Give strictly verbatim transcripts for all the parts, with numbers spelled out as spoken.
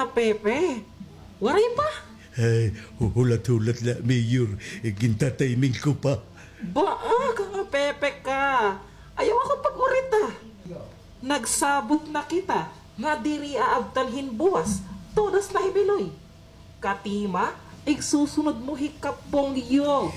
Pepe, waray pa? Ay, hu-, hulat-hulat la, Mayor. Ginta-timing ko pa. Baa ka nga Pepe ka. Ayaw ako pag-urita. Nagsabot na kita nga diri aabtan hin buwas, todas na hi Biloy. Katima, igsusunod mo hi Kap Bongyo.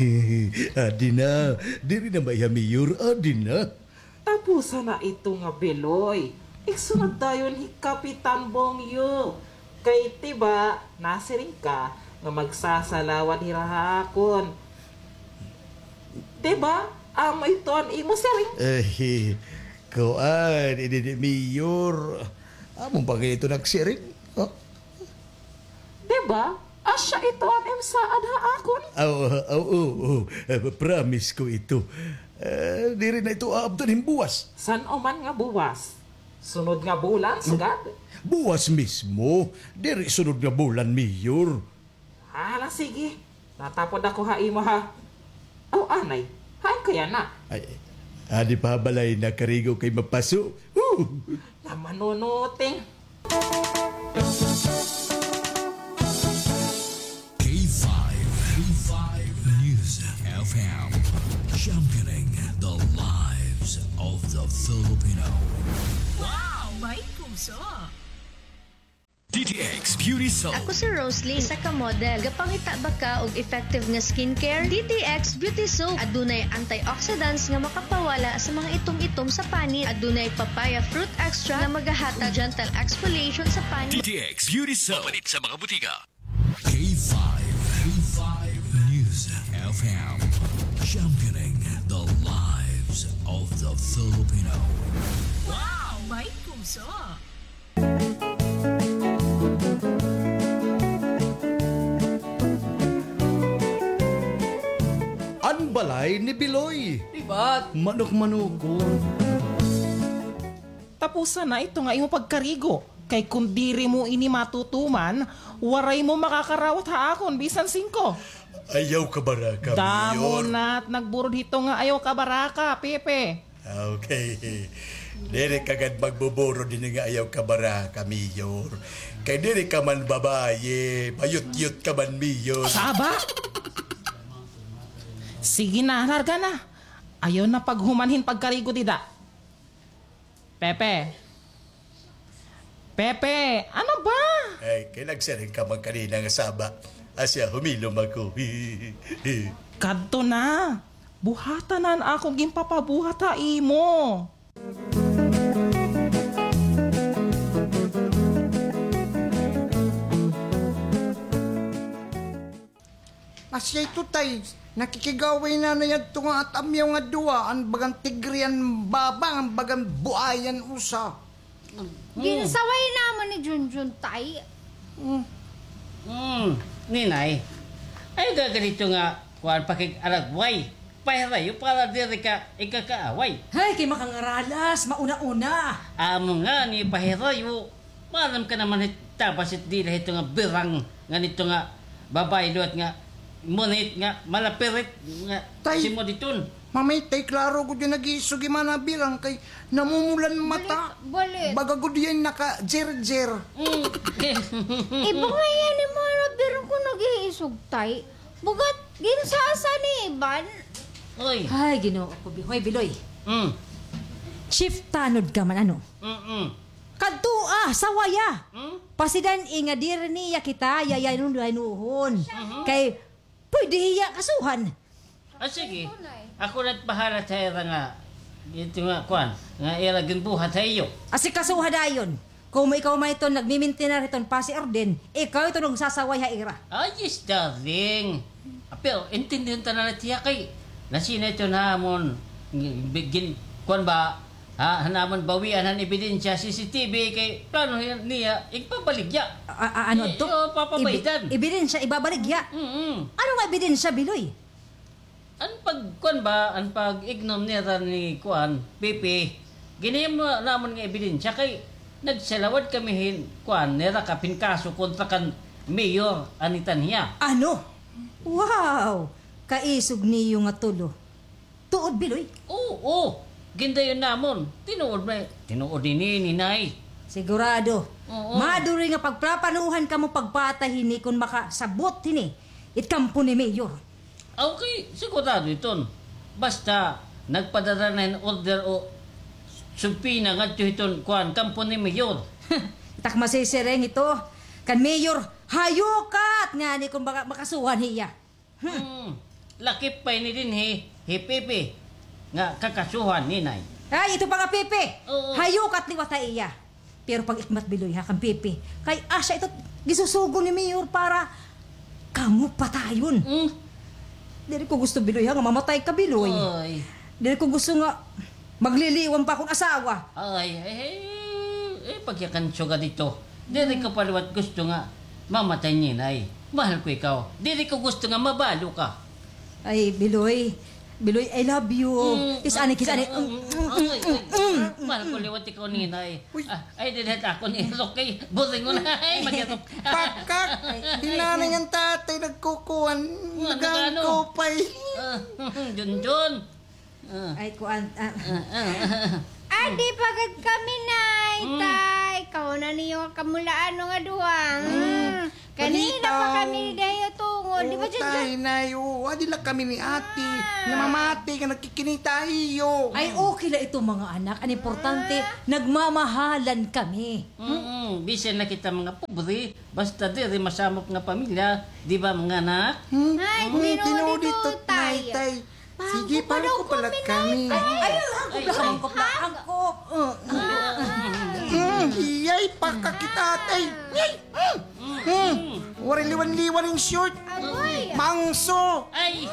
Adi na, diri na maiha, Mayor, adi na. Tapusan na ito nga Biloy. Igsunod dayon hi Kapitan Bongyo. Kay, di ba, nasiring ka nga magsasalawad hira ha akon. Di ba? Amo ito an imo siring. Eh, kuan, ini ni Mayor. Amo ba ngay-an ito nagsiring? Oh. Di ba? Asya ito an im saad ha akon. Aw, aw, oo, oo. Eh, promise ko ito. Eh, diri na ito aabtan hin buwas. San-o man nga buwas? Sunod nga bulan, sugad? Buwas mismo. Diri sunod nga bulan, Mayor. Hala, sige. Natapod ako ha imo, ha. Aw, anay. Hain ka yana? Ay, adi pa ha balay, nakarigo kay mapaso. Woo! Namanunuting. K five, K five News F M, championing the lives of the Filipino. Wow! May puso! D T X Beauty Soap. Ako si Roslyn, isa ka model. Gapangita ba ka og effective nga skincare? D T X Beauty Soap. Adunay antioxidants nga makapawala sa mga itom-itom sa panit. Adunay papaya fruit extract nga magahatag gentle exfoliation sa panit. D T X Beauty Soap. Mapalit sa mga butika. K five, K five News F M. Championing the lives of the Filipino. Wow! May puso! An balay ni Biloy. Libat. Manok-manokon. Tapusan na ito nga imo pagkarigo, kay kon diri mo ini matutuman, waray mo makakarawat ha akon bisan singko. Ayaw kabaraka, Mayor. Damo na it nagburod hito nga ayaw kabaraka, Pepe. Okay. Diri ka gad magbuburod hini nga ayaw kabaraka, Mayor. Kay diri ka man babaye, bayot-yot ka man, Mayor. Saba! Sige na, larga na. Ayaw na paghuman hin pagkarigo dida. Pepe. Pepe, ano ba? Ay, kay nagsiring ka man kanina nga saba. Asya, humilom ako. Kadto na. Buhata na an akon ginpapabuhat ha imo. Asya ito, tay. Nakikig-away nanay adto nga atamyaw nga duha, an bagan tigre, an babang, an bagan buayan usa. Hmm. Ginsaway namon ni Junjun, tay. Hmm. Hmm, ninay. Ayaw gad ito nga, kuan, pakig-aragway. Pahirayo para diri ka ikakaaway. Hay, kay makangaralas, mauna-una. Amo ngani, pahirayo. Maaram ka naman hit tabas hit dila hito nga birang ngan ito nga babaye liwat nga munit nga malapirit nga simod iton. Tay, Mamay, tay, klaro gud nga nag-iisog hi Mana Birang kay namumulan mata. Bali, bali. Baga gud hiya naka-jerjer. Mm. Iba ngay-an hi Mana Birang kon nag-iisog, tay. Bugat ginsasa ni Iban. Oy. Ay, Ginoo ko, Bi-, hoy, Biloy. Mm. Chief tanod ka man, ano? Mm-mm. Kadtoa, sawaya. Hmm? Pasidan-i nga diri niya kita yayanuyanuhon. Mhm. Kay pwede hiya kasuhan. Ah, sige. Ako na't bahala sa ira nga, ito nga, kuan, nga ira ginbuhat ha iyo. Asikasuha dayon. Komo ikaw man iton nagmimintinar hiton pasi orden, ikaw iton nagsasaway ha ira. Ay, yes, darling. Ah, pero intindihon ta na la hiya kay nasina ito namon, gin-, kuan ba, Ha, han amon bawian han ebidensya, C C T V, kay plano niya igpabaligya. A-, a-, ano adto? Iyo, papabaidan. Ebi-, ebidensya ibabaligya? Mm-mm. Ano nga ebidensya, Biloy? An pag-, kuan ba, an pag-ignom nira ni kuan, Pepe, ginhimo namon nga ebidensya kay nagsalawad kami hin kuan, nira kapin kaso kontra kan mayor, an itan hiya. Ano? Wow! Kaisog niyo nga tulo. Tuod, Biloy? Oo, oo. Gindayon namon. Tinuod na, tinuod ini, Ninay. Sigurado. Oo. Maduri nga pagplaplanuhan kamo pagpatay hini kon makasabot hini it kampo ni Mayor. Okay, sigurado iton. Basta nagpadara na hin order o subpoena ngadto hiton kuan, kampo ni Mayor. It ak masisiring ito kan Mayor, hayukat ngani kon maka-, makasuhan hiya. Hmm. Hmm. Lakip pa ini dinhi hi Pepe nga kakasuhan, Ninay. Ay, ito pa nga Pepe. Oo. Hayukat liwat ha iya. Pero pag-ikmat, Biloy, ha, kan Pepe. Kay asya ito gisusugo ni Mayor para kamo patayon. Hmm. Diri ko gusto, Biloy, ha, nga mamatay ka, Biloy. Oy. Diri ko gusto nga magliliwan pa akon asawa. Ay, eh, eh, eh, pagyakan sugad ito. Diri ko pa liwat gusto nga mamatay, Ninay. Mahal ko ikaw. Diri ko gusto nga mabalo ka. Ay, Biloy. Biloy, I love you. Mm, kiss ani, kiss ani. Mm, mm, mm, ay, ay, mm, mm, mahal ko liwat ikaw, Ninay. Uy. Ah, ay, diri ako ni Roque. Boring mo na. Ay, mag-irok. Pakak! Ay, ay, hinanay ay, nga tatay nagkukuan. Ano, nagano? Nagangkupay. Ah, Junjun. Ah. Ay, kuan, ah. Ah, ah, ah. Adi pa gad kami, Nay, mm, Tay. Kahunan niyo nga kamulaan nga duha. Mm. Mm. Kanina pa kami dayo tungod. Di ba, oo, Junjun? Tay, Nay, oo. Adi la kami ni Ate. Ah. Namamati nga nagkikinita iyo. Ay, okay la ito, mga anak. An importante, ah, nagmamahalan kami. Mm-mm. Bisan na kita mga pobre, basta diri masamok nga pamilya, di ba, mga anak? Hmm? Ay, mm, tinuod ito, Tay. Tay. Sige, pangko pala kami. Ay, ay, ay, hangkop la, hangkop la, hangkop. Mm, iyay, pakakita, Tay. Yay! Mm, mm. Waray liwan-liwan hin short. Agoy. Mangso. Ay.